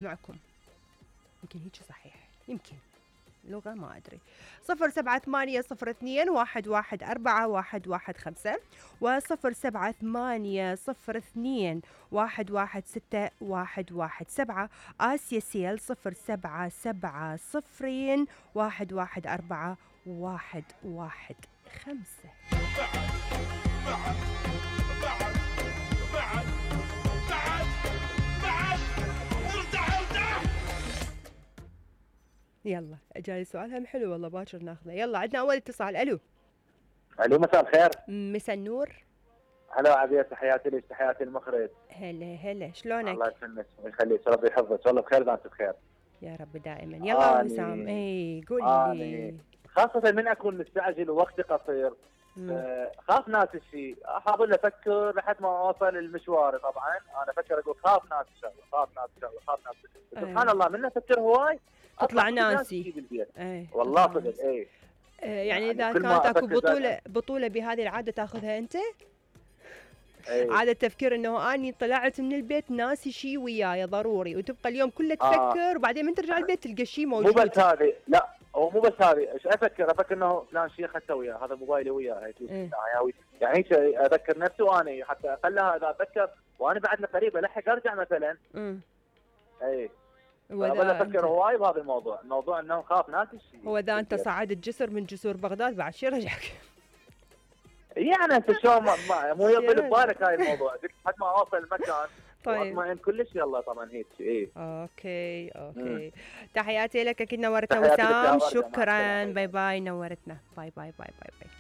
معكم. يمكن هيك صحيح، يمكن لغة ما أدري. 078021141115 و078021161117. آسيا سيل 0770114115. يلا جاي سؤال هم حلو والله، باكر ناخذه. يلا عندنا اول اتصال. الو مساء الخير. مساء النور. هلا عبير، تحياتي لك، تحياتي المخرج. هلا شلونك؟ الله يسلمك ويخليك، ربي يحفظك، والله بخير وانت بخير يا رب دائما. يلا وسام، اي قول لي. خاصة من اكون مستعجل ووقتي قصير، خاف ناس الشيء، احاول افكر لحد ما اوصل المشوار. طبعا انا افكر اقول خاف ناس الشغله، خاف ناس الشغله، خاف ناس الشغله. سبحان الله من افكر هواي تطلع ناسي بالبيت. والله صدق. يعني اذا كانت اكو بطولة بهذه العادة تاخذها انت؟ عادة تفكير انه اني طلعت من البيت ناسي شيء وياي ضروري، وتبقى اليوم كله تفكر وبعدين من ترجع البيت تلقى شيء موجود. مو بس هذه، لا هو مو بس هذه، ايش افكر انه فلان شيء اخذته وياه، هذا موبايلي وياه، يعني هيك اذكر نفسي، وانا حتى اقلها اذا اتذكر وانا بعد قريب الحق ارجع مثلا. ولا افكر هواي بهذا الموضوع، انه خاف ناس الشيء. هو اذا انت صعدت جسر من جسور بغداد بعد شي رجعك. يعني انت شلون مو يطل ببالك هاي الموضوع، قلت حد ما اوصل المكان. طيب واطمئن كلش. يلا طبعا هيك. اوكي. تحياتي لك، اكيد نورتنا وسام. شكرا. باي باي، نورتنا. باي باي باي باي باي.